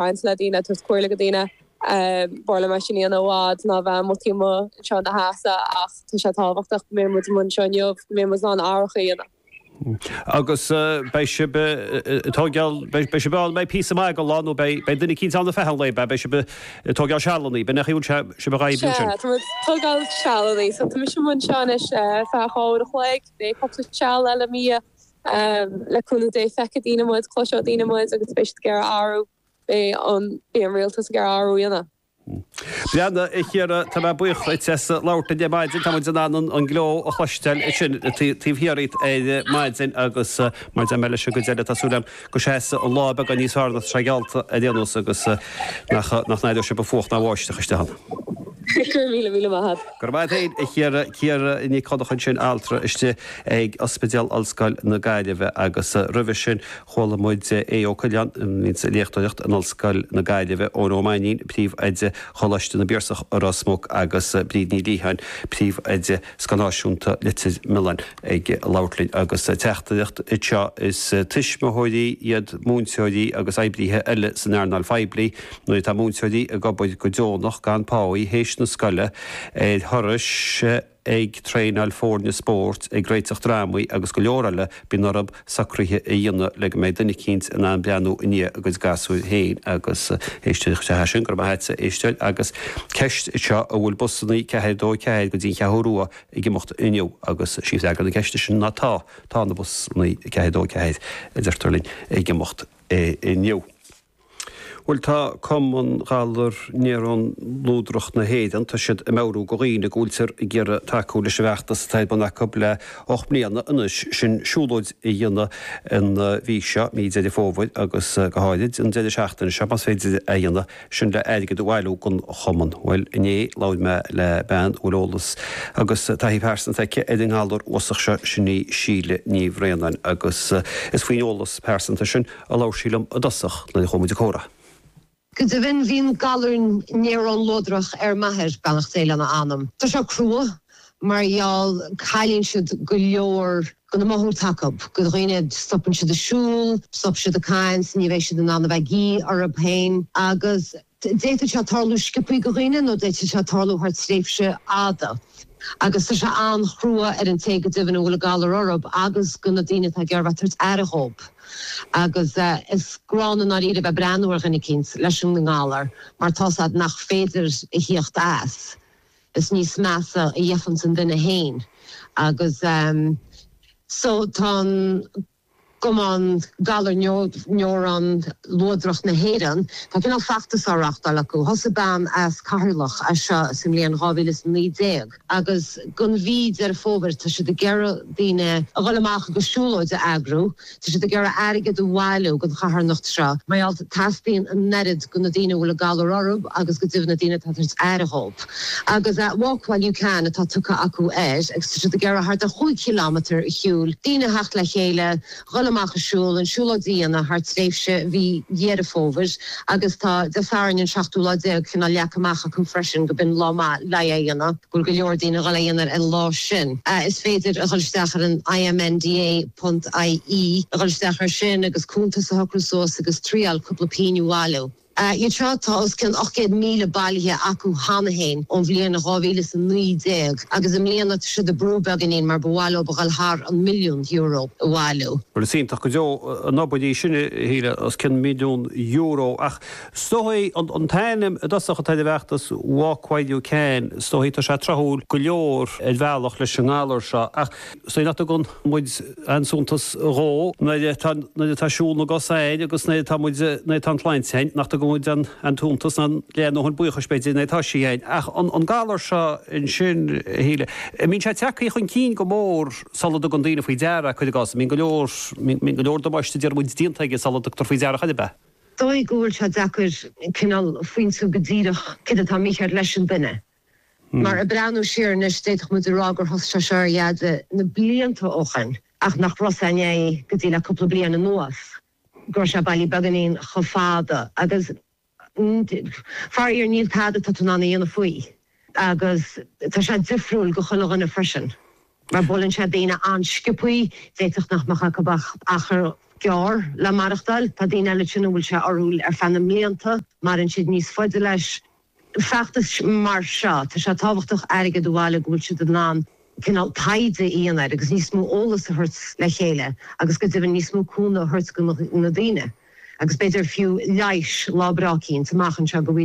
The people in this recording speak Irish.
caint le daoine, ag tabhairt comhairle go daoine. B'fhearr liom é sin a dhéanamh i bhfad ná bheith amuigh taobh amuigh anseo ina sheasamh ach tá sé tábhachtach go mbeidh muid amuigh anseo inniu, go mbeidh muid in ann athrach a dhéanamh. Agus beidh sibh ag tógáil, beidh sibh ann, beidh píosa maith den lá nó beidh duine eicínt ann ar feadh an lae, beidh, beidh sibh ag tógáil sealanna, b'in é an chaoi a bhfuil sibh ag oibriú ansin? Sea, tá muid ag tógáil sealanna, so tá mise amuigh anseo anois ar feadh 2 uair a chloig, beidh cúpla seal eile i mo dhiaidh. Le cúnamh Dé feicfidh daoine muid, cloisfidh daoine muid agus beidh siad ag iarraidh athrú, beidh an, beidh an rialtas ag iarraidh athrú a dhéanamh. Breathnaigh, a Chiara, tá mé buíoch duit as labhairt linn ar maidin. Tá muid in ann an gleo a chloisteáil ansin taobh thiar díot ar maidin agus mar a deir mé leis an gcuid eile, tá súil agam go seasfaidh an lá beagán níos fearr ná tá sé geallta ar aon nós agus nach n-aireoidh sibh an fuacht ná an bháisteach istigh ann. Go raibh míle míle maith agat. Go raibh maith agat féin, a Chiara. Ciara Nic Dhonncha ansin, altra istigh ag Ospidéal Ollscoil na Gaillimhe agus roimhe sin chuala muid Aodh Ó Coileáin, a bhíonns ag léachtóireacht in Ollscoil na Gaillimhe, Eoin Ó Mainnín, Príomh-Oide Choláiste na bPiarsach i Ros Muc agus Bríd Ní Liatháin, Príomh-Oide Scoil Náisiúnta Leitir Mealláin ag labhairt linn agus teachtaireacht anseo is tuismitheoirí iad múinteoirí agus oibrithe eile san earnáil phoiblí nuair atá múinteoirí ag obair go deonach gan páí théis na scoile ar thurais ag traenáil foirne spóirt, ag réiteach drámaí agus go leor eile, bíonn orthu socruithe a dhéanamh le go mbeidh duine eicínt in ann breathnú i ndiaidh a gcuid gasúir féin agus éisteoir is ea sin, go raibh maith a't a éisteoir agus ceist anseo an bhfuil busannaí 4 2 4 go dtí an Cheathrú Rua ag imeacht inniu agus sí freagra na ceiste sin ná tá, tá na busannaí 4 2 4 a deirtear linn ag imeacht inniu. Bhuel, tá Cumann Ghalar Néarón Luadrach na hÉireann, tá siad ag meabhrú go dhaoine go bhfuiltear ag iarraidh tacú leis an bhfeachtas atá ar bun acu le 8 mbliana anois, sin siúlóid a dhéanamh an mhí seo, mí Deireadh Fómhair, agus go háirid an deireadh seachtaine seo, más féidir é a dhéanamh, sin le airgead a bhailiú don chumann. Bhuel, inné labhair mé le bean a bhfuil eolas agus taithí phearsanta aici ar an ngalar uafásach seo, sin í Síle Ní Bhraonáin, agus is faoin eolas pearsanta sin a labhair sí liom i dtosach nuair a chuaigh muid ag comhrá. Go deimhin, bhí an galar néarón luadrach ar m'athair, beannacht Dé lena anam. Tá sé crua mar gheall cailleann siad go leor de na mothú atá acu, go dhaoine, stopann siad ag siúl, stop siad ag caint, ní bheidh siad in ann a bheith ag guí orthu féin agus. D'fhéadfadh sé tarlú sciobthaí go dhaoine nó d'fhéadfadh sé tarlú thar tréimhse fhada. Agus tá sé an-chrua ar an té go deimhin a bhfuil an galar orthu agus go na daoine atá ag iarraidh bheith ag tabhairt aire dhób. Agus is gránna i ndáiríre bheith breathnú ar dhuine eicínt leis an ngalar mar tá's a'd nach féidir a thíocht as. Is níos measa a gheibheanns an duine fhéin. Agus so tá an. Cumann Galar Néarón Luadrach na hÉireann, tá cineál feachtas á reáchtáil acu. Thosaigh bean as Ceatharlach é seo sa mbliain 2019 agus don mhí Deireadh Fómhair tá siad ag iarraidh daoine a dhul amach agus siúlóid a eagrú. Tá siad ag iarraidh airgead a bhailiú don charthanacht seo mar gheall teastaíonn an oiread go na daoine a bhfuil an galar orthu agus go deimhin na daoine atá ag tabhairt aire dhóibh. Agus Walk While You Can atá tugtha acu air agus tá siad ag iarraidh thart ar chúig chileámetar a shiúl, daoine a theacht le chéile, dhul amach ag siúl, an siúlóid a dhéanamh thar tréimhse mhí Dheireadh Fómhair agus tá Dé Sathairn an seachtú lá déag cineál leagtha amach acu freisin go b'in lá maith le é a dhéanamh, go bhfuil go leor daoine ag dhul é a dhéanamh ar an lá sin. Is féidir a dhul isteach ar an IMNDA ponc IE, a dhul isteach ar sin agus cuntas a shocrú suas agus triáil cúpla pingin a bhailiú. Iad seo, tá os cionn 800,000 bailithe acu cheana féin ón bhliain 2019 agus i mbliana tá siad ag brú beagáinín mar ba mhaith leo a dhul thar an milliún euro a bhailiú. Bhuel, is iontach go deo an obair í sin, a Shíle, os cionn milliún euro. Ach is dóigh an t-ainm i dtosach atá ar an bhfeachtas, Walk While You Can, is dóigh tá sé tráthúil go leor ar bhealach leis an ngalar seo. Ach is dóigh nach dtugann muid aon suntas dhó nuair atá nuair atá siúl na gcos againn agus nuair atá muid nuair atá an tsláinte againn nach dtugann muid an an suntas ná an ndóthain buíochais b'fhéidir nuair atá sí againn. Ach an an galar seo ansin, a Shíle, an mbíonn sé tagtha chun cinn go mór sula dtugann daoine faoi deara, cuir i gcás, an mbíonn go leor mbíonn go leor damáiste déarfaidh muid déanta aige sula dtugtar faoi deara chor ar bith? Dóigh go bhfuil sé deacair cineál pointiú go díreach céard atá mícheart leis an duine. Mar ag breathnú siar anois, d'fhéadfadh muid a rá gur thosaigh sé seo ar Dheaide na blianta ó shin, ach nach raibh a fhios againn go dtí le cúpla bliain anuas go raibh sé bailí beagáinín chomh fada. Agus faraor níl tada atá tú in ann a dhéanamh faoi. Agus tá sé difriúil go chuile dhuine freisin. Mar buaileann sé daoine an-sciobthaí, d'fhéadfadh nach mbeadh acu ach achar. gearr le maireachtáil. Tá daoine eile ansin a bhfuil sé orthu ar feadh na mblianta, maireann siad níos faide leis. Feachtais mar seo, tá sé tábhachtach airgead a bhailiú go bhfuil siad in ann cineál taighde a dhéanamh air agus níos mó eolas a thabhairt le chéile agus go deimhin níos mó cúnamh a thabhairt go na daoine agus b'fhéidir fiú leighis lá breá eicínt amach anseo go.